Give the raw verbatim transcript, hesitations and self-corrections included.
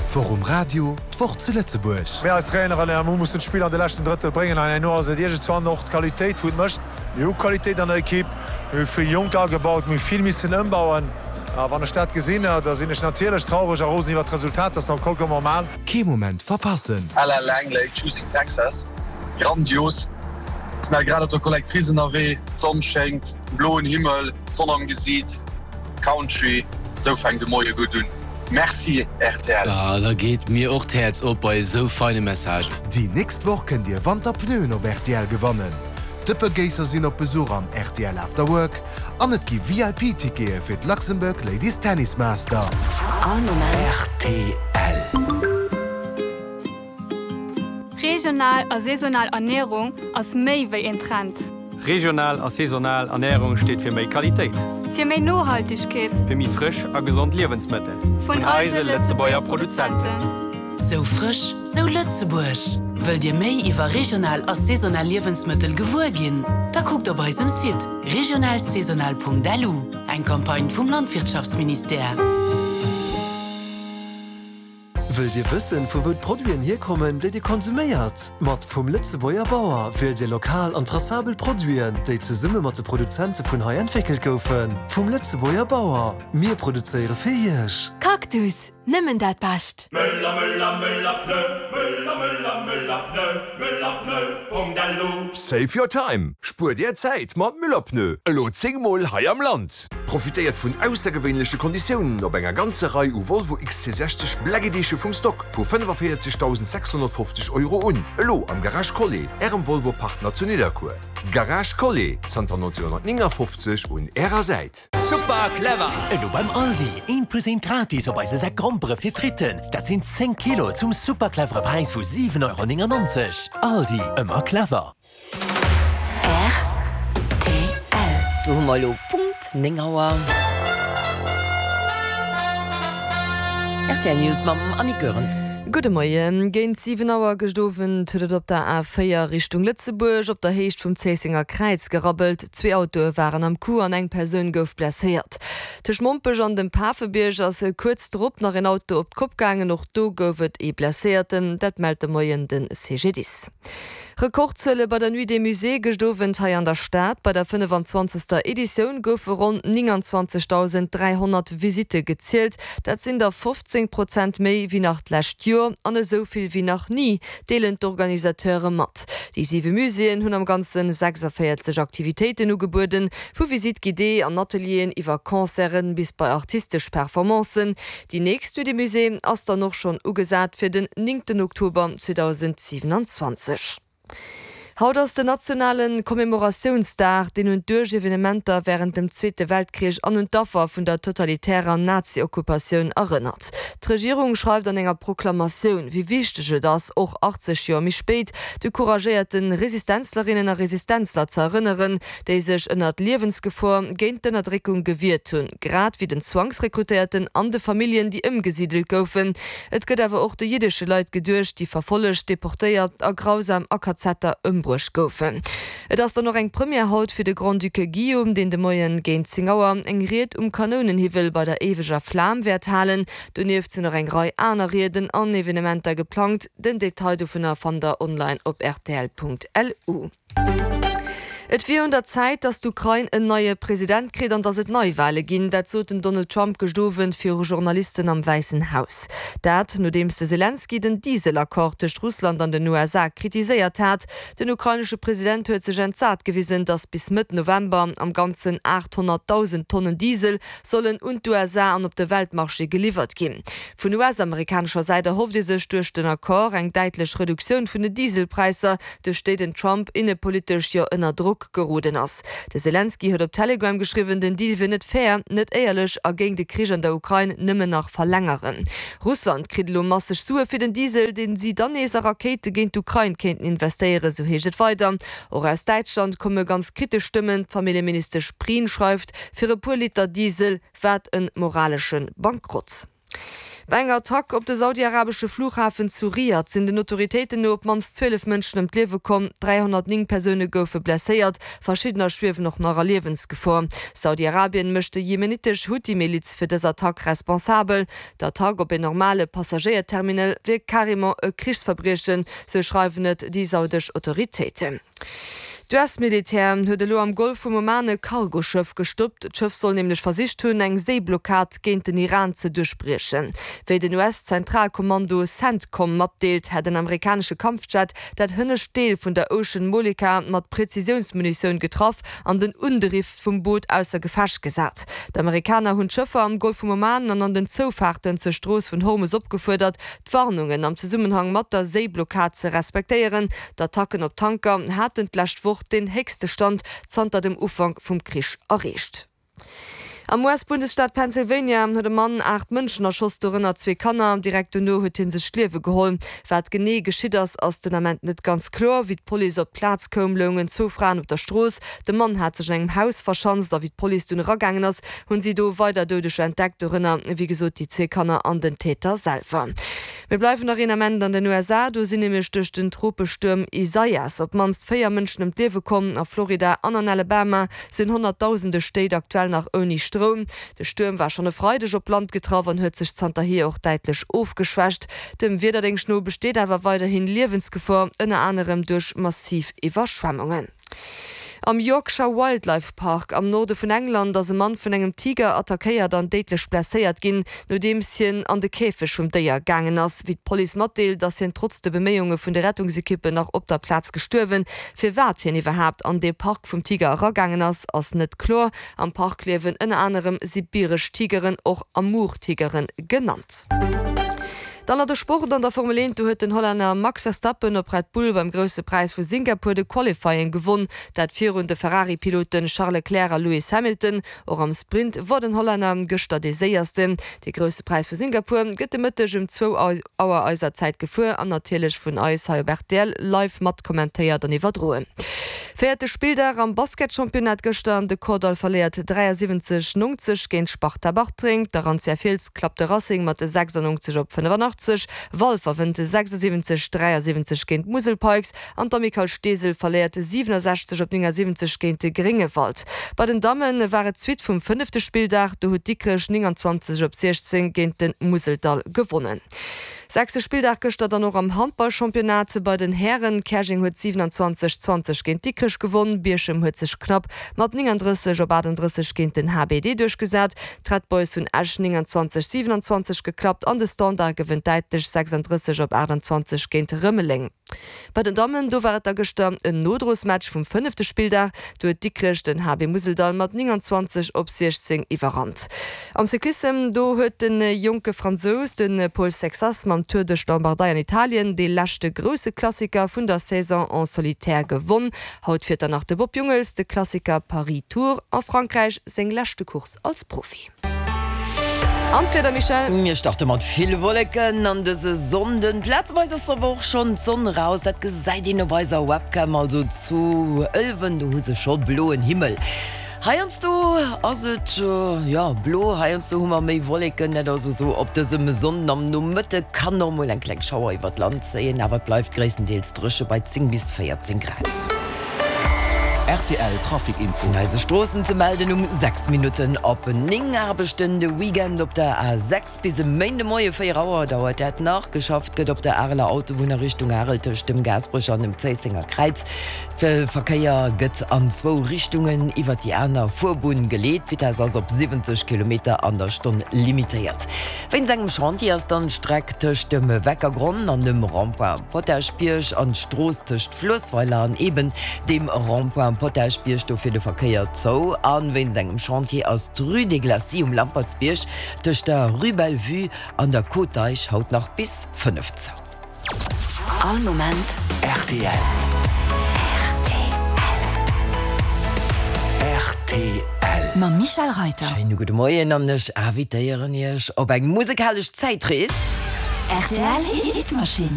D'Woch um Radio, d'Woch zu Lëtzebuerg. Mir als Traineren mir mussen d'Spill an de leschten Drëttel bréngen an herno ass et iergendzwann och d'Qualitéit wou et mécht. Mir hu Qualitéit an der Ekipp, mir hu vill Jonker agebaut, mir hu vill missen ëmbauen. A wann ech dat gesinn, da sinn ech natierlech traureg a rosen iwwer d'Resultat, dat ass nach vollkommen normal. Kee Moment verpassen! Ella Langley, Choosing Texas, grandios. Sinn hei grad op der Collectrice ënnerwee, d'Sonn schéngt, bloen Himmel, d'Sonn am Gesiit, Country, esou fänkt de Moie gutt un. Merci rtl. Ah, da geet mir och d'Häerz op bei esou feine Messagen. Déi nächst Woch kënnt Dir Wanterpneuen op rtl gewannen. D'Dëppegéisser sinn op Besuch am rtl After Work an et gi V I P-Tickete fir d'Luxembourg Ladies Tennis Masters. All Moment. R T L. Regional a saisonal Ernierung ass méi wéi en Trend. Regional a saisonal Ernärung steet fir méi Qualitéit. Fir méi Nohaltegkeet. Fir méi frësch a gesond Liewensmëttel. Vun eise Lëtzebuerger Produzenten. Sou frësch, sou Lëtzebuerg. Wëllt Dir méi iwwer regional a saisonal Liewensmëttel gewuer ginn? Da kuckt op eisem Site regionalsaisonal Punkt L U. Eng Campagne vum Landwirtschaftsministère. Wëllt Dir wëssen, vu wou d'Produiten hierkommen, déi Dir konsuméiert? Mat Vum Lëtzebuerger Bauer wielt Dir lokal an tracabel Produiten, déi zesumme mat de Produzente vun hei entwéckelt goufen. Vum Lëtzebuerger Bauer. Mir produzéiere fir Iech. Cactus, nëmmen dat Bescht. Müller, Müller, Müller, Pneu, Müller, Müller, Müller, Pneu, Müller, Pneu, Punkt L U. Save your time. Spuer dir Zäit mat Müller Pneu. Elo zéng Mol hei am Land. Profitéiert vun aussergewéinleche Konditiounen op enger ganzer Rei u Volvo X C sechzeg Black Edition vum Stock vu fënnefavéierzegdausend sechshonnertfofzeg Euro un. Elo am Garage Collet, Ärem Volvo Partner zu Nidderkuer. Garage Collet, zanter nonzénghonnertnéngafofzeg un Ärer Säit. Super clever! Elo beim Aldi, een plus een gratis op eise Säck Grompere fir Fritten. Dat sinn zéng Kilo zum super clevere Präis vu siwen Euro néngennonzeg. Aldi, ëmmer clever. R T L. Do hu mer elo Punkt néng Auer. R T L News mam Annick Goerens. Gudde Moien. Géint siwen Auer gëscht Owend huet et op der A véier Richtung Lëtzebuerg op der Héicht vum Zéissenger Kräiz gerabbelt. Zwee Autoe waren am Coup an eng Persoun gouf blesséiert. Tëscht Mompech an dem Pafebierg ass kuerz drop nach en Auto op d'Kopp gaangen, och do gouf et ee Blesséierten, dat mellt de Moien de C G D I S. Rekordzuele bei der Nuit des Musées gëscht Owend hei an der Stad. Bei der fënnefenzwanzegster Editioun goufe ronn nénganzwanzegdausend dräihonnert Visitte gezielt. Dat sinn der fofzéng Prozent méi wéi nach d'lescht Joer an esou vill wéi nach ni, deelen d'Organisateure mat. Déi siwe Muséeën hunn am Ganze sechsavéierzeg Aktivitéiten ugebueden, vu Visites guidées an Atelieren iwwer Concerten bis bei artistesch Performancen. Déi nächst Nuit des Musées ass dann och schonn ugesat fir den néngten Oktober zweedausendsiwenanzwanzeg. Haut ass den nationale Commemoratiounsdag, deen un d'Evenementer wärend dem Zweete Weltkrich an un d'Affer vun der totalitärer Nazi-Okkupatioun erënnert. D'Regierung schreift an enger Proklamatioun, wéi wichteg et ass, och achtzeg Joer méi spéit, de couragéierte Resistenzlerinnen a Resistenzler ze erënneren, déi sech ënner Liewensgefor géint d'Ënnerdréckung gewiert hunn, grad wéi den Zwangsrekrutéierten an de Familljen, déi ëmgesidelt goufen. Et gëtt awer och de jiddesche Leit geduecht, déi verfollegt, deportéiert a grausam a Kazetter ëmbruecht goufen. Et ass dann och eng Première haut fir de Grand-Duc Guillaume, deen de Moien géint zéng Auer eng Ried um Kanounenhiwwel bei der éiweger Flam wäert halen. Donieft sinn nach eng Rei aner Rieden an Evenementer geplangt. Den Detail dovunner fannt der online op R T L Punkt L U. Et wier un der Zäit, datt d'Ukrain en neie President kritt an datt et Neiwale ginn. Dat sot den Donald Trump gëscht Owend viru Journalisten am Wäissen Haus. Dat, nodeems de Selenskyj den Dieselaccord tëscht Russland an den U S A kritiséiert hat. Den ukrainesche President huet sech entsat gewisen, datt bis Mëtt November am Ganzen aathonnertdausend Tonnen Diesel sollen un d'U S A an op de Weltmarché geliwwert ginn. Vun U S-amerikanescher Säit erhofft ee sech duerch den Accord eng däitlech Reduktioun vun den Dieselpräisser, duerch déi den Trump innepolitesch jo ënner Drock geroden ass. De Selenskyj huet op Telegram geschriwwen, den Deal wier net fair, net éierlech a géing de Krich an der Ukrain nëmmen nach verlängeren. Russland kritt elo masseg Sue fir den Diesel, deen si dann nees a Rakéite géint d'Ukrain kéinten investéieren, sou heescht et weider. Och aus Däitschland komme ganz kritesch Stëmmen. D'Familljeministesch Prien schreift, fir e puer Liter Diesel, wat e moralesche Bankrott. Bei enger Attack op de saudi-arabesche Flughafen zu Riad sinn den Autoritéiten no op d'mannst zwielef Mënschen ëm d'Liewe komm, dräihonnertnéng Persoune goufe blesséiert, verschiddener schwiewen och nach a Liewensgefor. Saudi-Arabien mécht déi jemenitesch Huthi-Miliz fir dës Attack responsabel. D'Attack op een normale Passagéierterminal wier carrément e Krichsverbriechen, sou schreiwen et déi saudesch Autoritéiten. D'US-Militär huet elo am Golf vum Oman e Cargoschëff gestoppt. D'Schëff soll nämlech versicht hunn, eng Séiblockad géint den Iran ze duerchbriechen. Wéi den US-Zentralkommando Centcom matdeelt, hätt en amerikanesche Kampfjet dat hënnescht Deel vun der Ocean Molika mat Präzisiounsmunitioun getraff an den Undriff vum Boot ausser Gefecht gesat. D'Amerikaner hunn d'Schëffer am Golf vum Oman an an den Zoufaarten zur Strooss vun Hormus opgefuerdert, d'Warnungen am Zesummenhang mat der Séiblockad ze respektéieren. D'Attacken op Tanker haten d'lescht Woch deen héchste Stand zanter dem Ufank vum Krich erreecht. Am U S-Bundesstaat Pennsylvania huet e Mann aacht Mënschen erschoss, dorënner zwee Kanner. Direkt dono huet hie sech d'Liewe geholl. Wat genee geschitt ass, ass den Ament net ganz kloer. Wéi d'Police op d'Plaz koum, loungen zwou Fraen op der Strooss. De Mann hat sech an engem Haus verschanzt a wéi d'Police dunn eragaangen ass, hunn si do weider Doudeger entdeckt, dorënner wéi gesot déi zwee Kanner an den Täter selwer. Mir bleiwen nach een Ament an den U S A, do sinn nämlech duerch den Tropestuerm Isaias op d'mannst véier Mënschen ëm d'Liewe komm. A Florida an an Alabama sinn honnertdausende Stéit aktuell nach ouni Stroum. De Stuerm war schonn e Freideg op Land getraff an huet sech zanterhier och däitlech ofgeschwächt. Dem Wiederdéngscht no besteet awer weiderhin Liewensgefor, ënner anerem duerch massiv Iwwerschwemmungen. Am Yorkshire Wildlife Park am Norde vun England ass e Mann vun engem Tiger attackéiert an déidlech blesséiert ginn, nodeems hien an de Käfeg vum Déier gaangen ass. Wéi d'Police matdeelt, ass hien trotz de Beméiunge vun de Rettungsekippen nach op der Plaz gestuerwen. Firwat hien iwwerhaapt an dee Park vum Tiger eragaangen ass, ass net kloer. Am Park liewen ënner anerem sibiresch Tigeren, och Amur-Tigeren genannt. Dann nach de Sport an der Formel eent, do huet den Hollänner Max Verstappen op Red Bull beim Grousse Präis vu Singapur de Qualifying gewonn, dat virun de Ferrari-Piloten Charles Leclerc a Lewis Hamilton. Och am Sprint wor den Hollänner gëschter dee Séiersten. De Grousse Präis vu Singapur gëtt de Mëtteg um zwou Auer eiser Zäit gefuer an natierlech vun eis hei op rtl live mat kommentéiert an iwwerdroen. Véierte Spilldag am Basketchampionnat gëschter, De Kordall verléiert dräiasiwwenzeg neunzeg géint Sparta Bartreng, d'Arantia Fiels klappt de Racing mat sechsundneunzeg op fënnefanachtzeg, Walfer wënnt sechsundsiwwenzeg dräiasiwwenzeg géint d'Musel Pikes an d'Amicale Steesel verléiert siwenasechzeg op néngasiwwenzeg géint de Gréngewald. Bei den Damme war et d'Suite vum fënnefte Spilldag, do huet Dikrech nénganzwanzeg op siechzéng géint de Museldall gewonnen. Sechste Spilldag gëschter dann och am Handballchampionnat bei den Hären. Käerjeng huet siwenanzwanzeg, zwanzeg géint Dikrech gewonn, Bierchem huet sech knapp mat néngandrësseg op achtandrësseg géint den H B D duerchgesat, d'Red Boys hunn Esch nénganzwanzeg, siwenanzwanzeg geklappt an de Standard gewënnt däitlech sechsandrësseg op achtanzwanzeg géint Rëmeleng. Bei den Dammen, do war et da gëschter en Nodrosmatch vum fënnefte Spilldag. Do huet Dikrech den H B Museldall mat nénganzwanzeg op siechzéng iwwerrannt. Am Cyclissem, do huet de jonke Fransous, de Paul Sexas mam Tour duerch d'Lombardei an Italien dee leschte grousse Klassiker vun der Saison en solitaire gewonn. Haut fiert dann nach de Bob Jungels de Klassiker Paris-Tours a Frankräich, seng leschte Course als Profi. An d'Wieder, Michèle? Mir starte mat vill Wolleken an dëse Sonnden. Plazeweis ass awer och schonn d'Sonn eraus, dat gesäit een op eiser Webcam, also zu Ëlwen, do hu se scho bloen Himmel. Heiansdo ass et, jo, blo, heiansdo hu mer méi Wolleken. Dat also sou op dësem Sonnden am Nomëtte kann och mol eng kleng Schauer iwwert d'Land zéien, awer et bleift gréisstendeels dréche bei zéng bis véierzéng Grad. Rtl Trafic Info. Vun eise Stroossen ze melden um sechs Minutten op néng. Aarbechten de Weekend op der A sechs bis e Méindemoie véier Auer dauert dat nach. Geschafft gëtt op der Areler Autobunn a Richtung Arel tëscht dem Gaasperecher an dem Zéissenger Kräiz. De Verkéier gëtt an zwou Richtungen iwwer déi aner Fuerbunn geleet. D'Vitess ass op siwwenzeg Kilometer an der Stonn limitéiert. Wéinst engem Chantier ass dann d'Streck tëscht dem Weckergronn an dem Rond-point Potaschbierg an d'Strooss tëscht Fluessweiler an eben dem Rond-point Potaschbierg dofir de Verkéier zou. A wéinst engem Chantier ass d'Rue des Glacis um Lampertsbierg tëscht der Rue Bellevue an der Côte d'Eich haut nach bis fënnef zou. All Moment rtl. Rtl. Mam Michèle Reiter. Schéine gudde Moien an ech invitéieren Iech op eng musekalesch Zäitrees. Rtl Hitmaschinn.